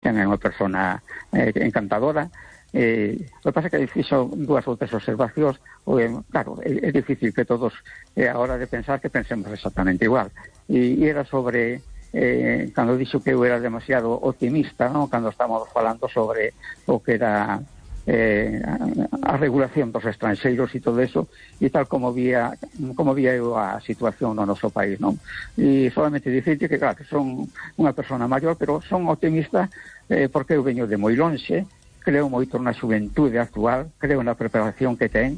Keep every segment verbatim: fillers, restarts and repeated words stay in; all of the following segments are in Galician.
é unha persona eh, encantadora. Eh, o que pasa é que fixo dúas ou tres observacións, eh, claro, é, é difícil que todos eh, a hora de pensar que pensemos exactamente igual, e, e era sobre eh, cando dixo que eu era demasiado optimista, ¿no? Cando estábamos falando sobre o que era eh, a, a regulación dos estranxeiros e todo eso, e tal como vía como vía eu a situación no noso país, non? E solamente dicirte que, claro, que son unha persona maior, pero son optimista eh, porque eu veño de moi lonxe. Creo moito na xuventude actual, creo na preparación que ten,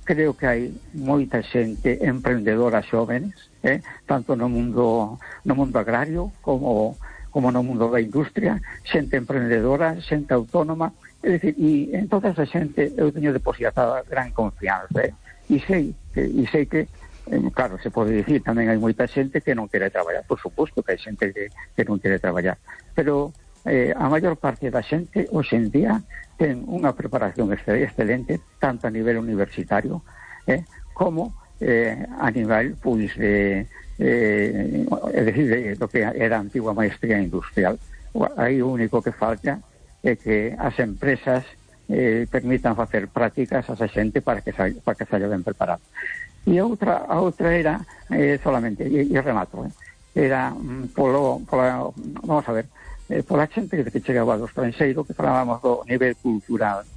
creo que hai moita xente emprendedora xóvenes, eh? tanto no mundo no mundo agrario como, como no mundo da industria, xente emprendedora, xente autónoma, é dicir, e en toda esa xente eu teño depositada gran confianza, eh? e sei que, e sei que eh, claro, se pode dicir, tamén hai moita xente que non quere traballar, por suposto que hai xente que, que non quere traballar, pero Eh, a maior parte da xente hoxe en día ten unha preparación excelente, tanto a nivel universitario eh, como eh, a nivel pois de eh, é dicir, de, do que era a antigua maestría industrial. Aí o único que falta é que as empresas eh, permitan facer prácticas a esa xente para que saia, para que saia ben preparado. E a outra, a outra era eh, solamente, e, e remato, eh, era mm, polo, polo, vamos a ver, Eh, pola xente que chegaba do estranxeiro, que falábamos do nivel cultural.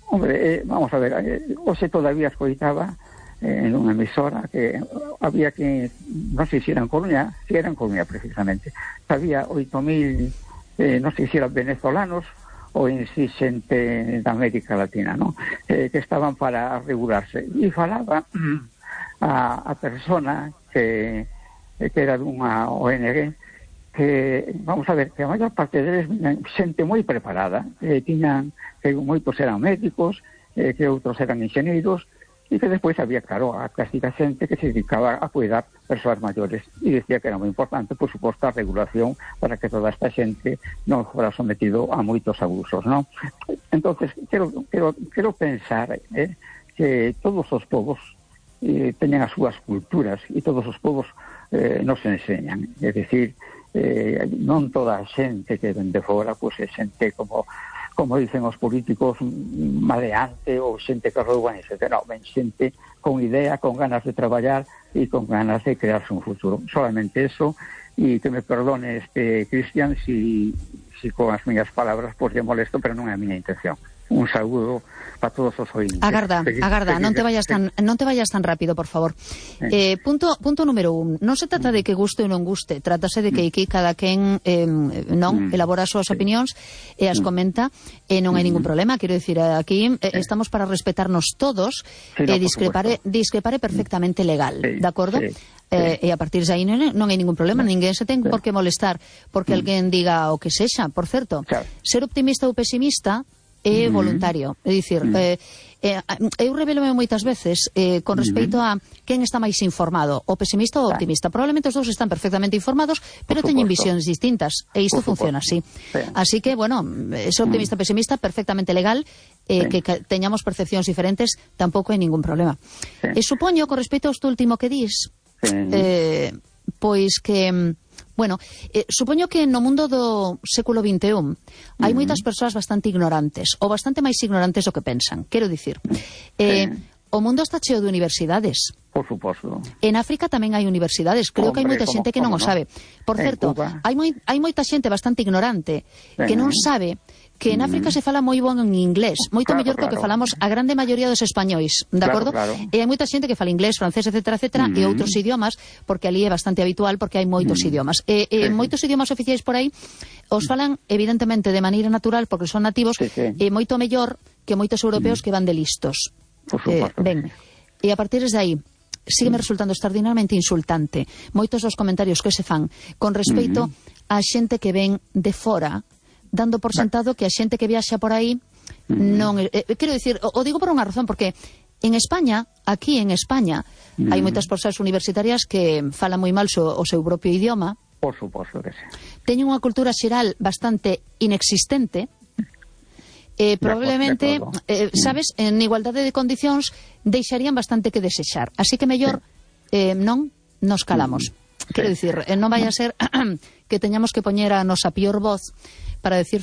Hombre, eh, vamos a ver, eh, hoxe todavía escoitaba eh, en unha emisora que había que, non sei se era en Coruña, se era en Coruña precisamente, había oito mil, eh, non sei se eran venezolanos ou en si xente da América Latina, ¿no? eh, que estaban para regularse. E falaba a, a persona que, que era dunha O N G, que, vamos a ver, que a maior parte deles xente moi preparada, eh, tiñan, que moitos eran médicos, eh, que outros eran enxeneiros, e que despois había, claro, a clásica xente que se dedicaba a cuidar persoas maiores, e dicía que era moi importante, por suposto, a regulación para que toda esta xente non fora sometido a moitos abusos, non? Entonces, quero, quero, quero pensar eh, que todos os povos eh, teñen as súas culturas, e todos os povos eh, nos enseñan, é dicir, Eh, non toda a xente que ven de fora pois é xente como como dicen os políticos maleante ou xente que rouban, etcétera. Non, ven xente con idea, con ganas de traballar e con ganas de crearse un futuro. Solamente eso, e que me perdone este Cristian si, si con as miñas palabras pois lle molesto, pero non é a miña intención. Un saúdo para todos os ointes. Agarda, seguir, agarda, seguir, non te vayas tan non te vayas tan rápido, por favor. Eh, eh, punto punto número un, non se trata de que guste ou non guste, trátase de que aquí cada quen eh, non elabora as súas opinións e as comenta, e non hai ningún problema, quero dicir, aquí eh, estamos para respetarnos todos, e eh, discrepare discrepare perfectamente legal, de acordo? Sí. Eh, e a partir de aí non, non hai ningún problema, ninguén se ten por que molestar porque alguén diga o que sexa. Por certo, ser optimista ou pesimista é voluntario, é dicir, eh, eh, eu revelome moitas veces eh, con respecto a quen está máis informado, o pesimista ou o optimista. Probablemente os dous están perfectamente informados, pero teñen visións distintas, e isto funciona así. Así que, bueno, ser optimista ou pesimista perfectamente legal, eh, que teñamos percepcións diferentes tampouco hai ningún problema. E supoño, con respecto a isto último que dis, eh, pois que bueno, eh, supoño que no mundo do século vinte e un hai moitas persoas bastante ignorantes, ou bastante máis ignorantes do que pensan. Quero dicir, eh, o mundo está cheo de universidades. Por suposto. En África tamén hai universidades. Creo Hombre, que hai moita xente que non o sabe. Por certo, hai, moi, hai moita xente bastante ignorante que non sabe que en África se fala moi bon en inglés, moito claro, mellor claro. que o que falamos a grande maioría dos españois, de acordo? Claro, claro. E hai moita xente que fala inglés, francés, etcétera, etcétera, uh -huh. e outros idiomas, porque ali é bastante habitual, porque hai moitos uh -huh. idiomas. E, e sí, moitos idiomas oficiais por aí os falan, evidentemente, de maneira natural, porque son nativos, sí, sí. e moito mellor que moitos europeos uh -huh. que van de listos. Por suposto. Eh, ben, e a partir de aí, sígueme resultando extraordinariamente insultante moitos dos comentarios que se fan con respecto uh -huh. a xente que ven de fora, dando por sentado que a xente que viaxa por aí uh -huh. non... Eh, quero dicir, o, o digo por unha razón, porque en España, aquí en España, uh -huh. hai moitas persoas universitarias que falan moi mal so, o seu propio idioma. Por suposto que sí. Teñen unha cultura xeral bastante inexistente. Eh, probablemente, eh, sabes, en igualdade de condicións deixarían bastante que desexar. Así que mellor eh, non nos calamos. Quero dicir, eh, non vai a ser que teñamos que poñer a nosa pior voz para decirte